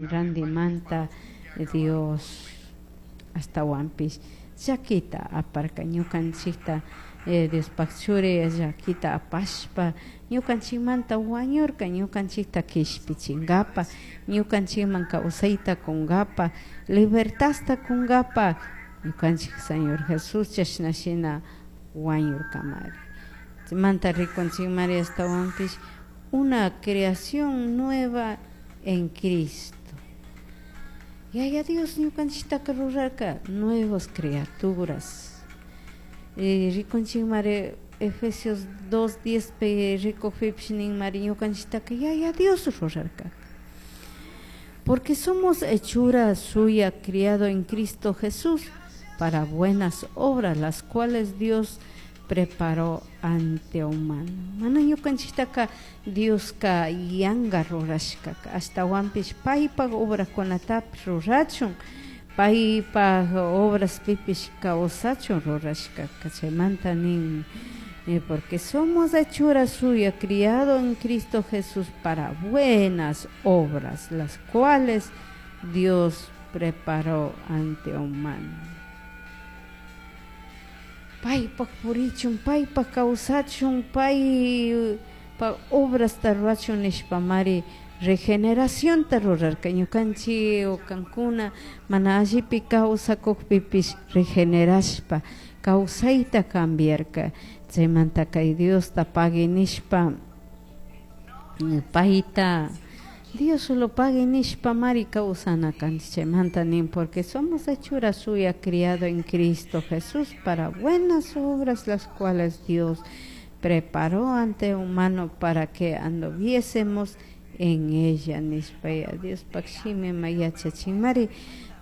Randimanta Dios ashtahuanpish llaquita aparca ñukanchikta Diospaj churi llaquita apashpa ñukanchikmanta wañurka, ñukanchikta kishpichinkapa, ñukanchikman kawsayta kunkapa, libertadta kunkapa, ñukanchik Señor Jesús chashna shina wañurkamari. Chaymanta rikunchikmari ashtawanpish una creación nueva en Cristo. Yaya Dios ñukanchiktaka rurarka nuevas criaturas. Rikunchikmari Efesios 2:10 pi rikukpipish ninmari ñukanchiktaka Yaya Dios rurarka. Porque somos hechura suya, criado en Cristo Jesús para buenas obras, las cuales Dios preparó antemano. Mana ñukanchiktaka Dioska yanga rurashkaka, ashtawanpish paypak obrakunatapish rurachun, paypak obraspipish kawsachun rurashkaka. Chaymanta nin, porque somos hechura suya, criado en Cristo Jesús para buenas obras, las cuales Dios preparó antemano. Paypak purichun, paypak kawsachun, paypak obrasta rurachun nishpamari regeneracionta rurarka. Ñukanchik o kankuna mana allipi kawsakukpipish regenerashpa kawsayta cambiarka. Chaymanta kay Diosta pagui nishpa payta Dios solo pagui nishpa mari kawsana kanchik. Chaymanta nin, porque somos hechura suya, criado en Cristo Jesús para buenas obras, las cuales Dios preparó antemano para que anduviésemos en ella nishpa. Ya Diospak shimima yachachinmari.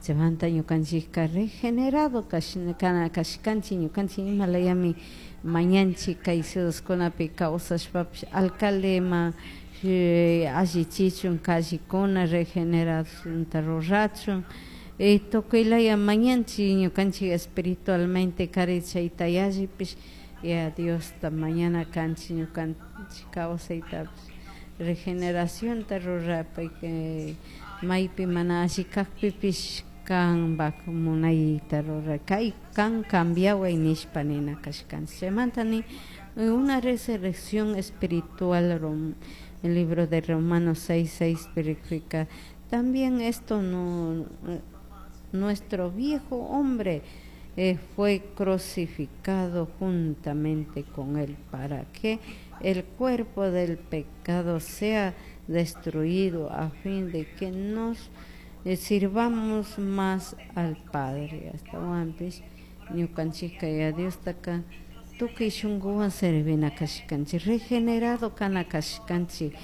Chaymanta ñukanchikka regenerado kashkanchik. Ñukanchik imalayami mañanchik kay ciudadkunapi kawsashpapish alcaldema allichichun callecuna regeneracionta rurachun, tukuylaya mañanchik ñukanchik espiritualmente kari chayta yallipish ya Diosta mañana kanchik ñukanchik kawsaytapish regeneracionta rurapay, maypi mana alli kakpipish kanpak munayta ruray, kay kan cambiaway nishpa nina kashkanchik. Chaymanta nin una resurrección espiritual. El libro de Romanos 6:6 verifica también esto: no, nuestro viejo hombre fue crucificado juntamente con él para que el cuerpo del pecado sea destruido, a fin de que nos sirvamos más al Padre. Ashtawanpish ñukanchikka ya Diostaka tukuy shunkuwan servina kashkanchik, regenerado kana kashkanchik,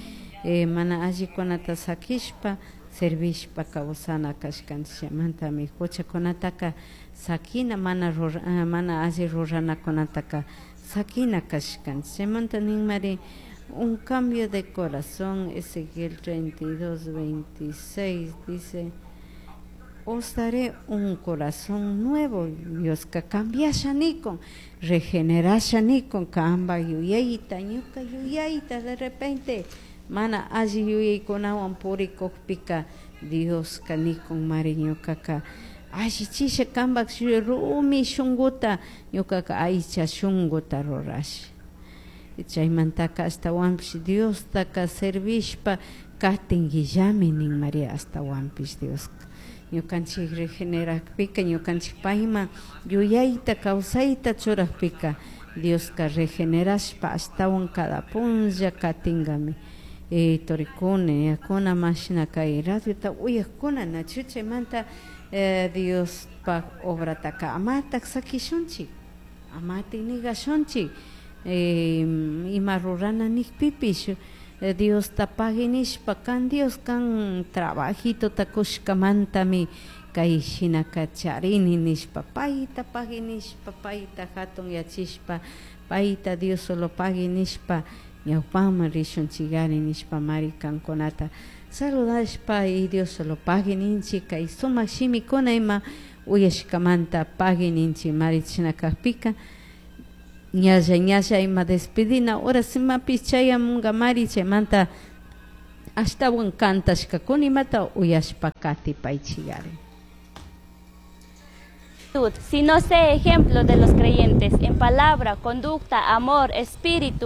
mana allikunata sakishpa servishpa kawsana kashkanchik. Chaymantami huchakunataka sakina, mana mana alli ruranakunataka sakina kashkanchik. Chaymanta ninmari un cambio de corazón. Ezequiel 32, 26 dice: "Os daré un corazón nuevo". Dioska cambiasha nikun, regenerasha nikun kanpak yuyayta, ñuka yuyayta. De repente mana alli yuyaykunawan purikukpika Dioska nikun mari: "Ñukaka allichisha kanpak rumi shunkuta, ñukaka aycha shunkuta rurasha". Chaymantaka ashtawanpish Diostaka servishpa katinguillami nin María. Ashtawanpish Dioska ñukanchik regenerakpika, ñukanchik payman yuyayta kawsayta churakpika, Dioska regenerashpa ashtawan cada punlla katinkami. Turikuna, yakuna, mashna kay radiota uyakuna, nachu? Chaymanta Diospak obrataka amatak sakishunchik, amatik nigashunchik. Ima rurana nikpipish Diosta pagui nishpa, kan Dios kan trabajitota kushkamantami kay shinaka charini nishpa, payta pagui nishpa, payta hatun yachishpa, payta Dios solo pagui nishpa ñawpaman rishunchikari nishpa mari kankunata saludashpa y Dios solo pagui ninchik. Kay sumak shimikuna ima uyashkamanta pagui ninchik mari. Chashna kakpika ñalla ñalla ima despedina horas imapish chayamunkamari. Chaymanta Ashtawan kantashkakuna imata uyashpa katipaychigari. Sino sé ejemplo de los creyentes en palabra, conducta, amor, espíritu.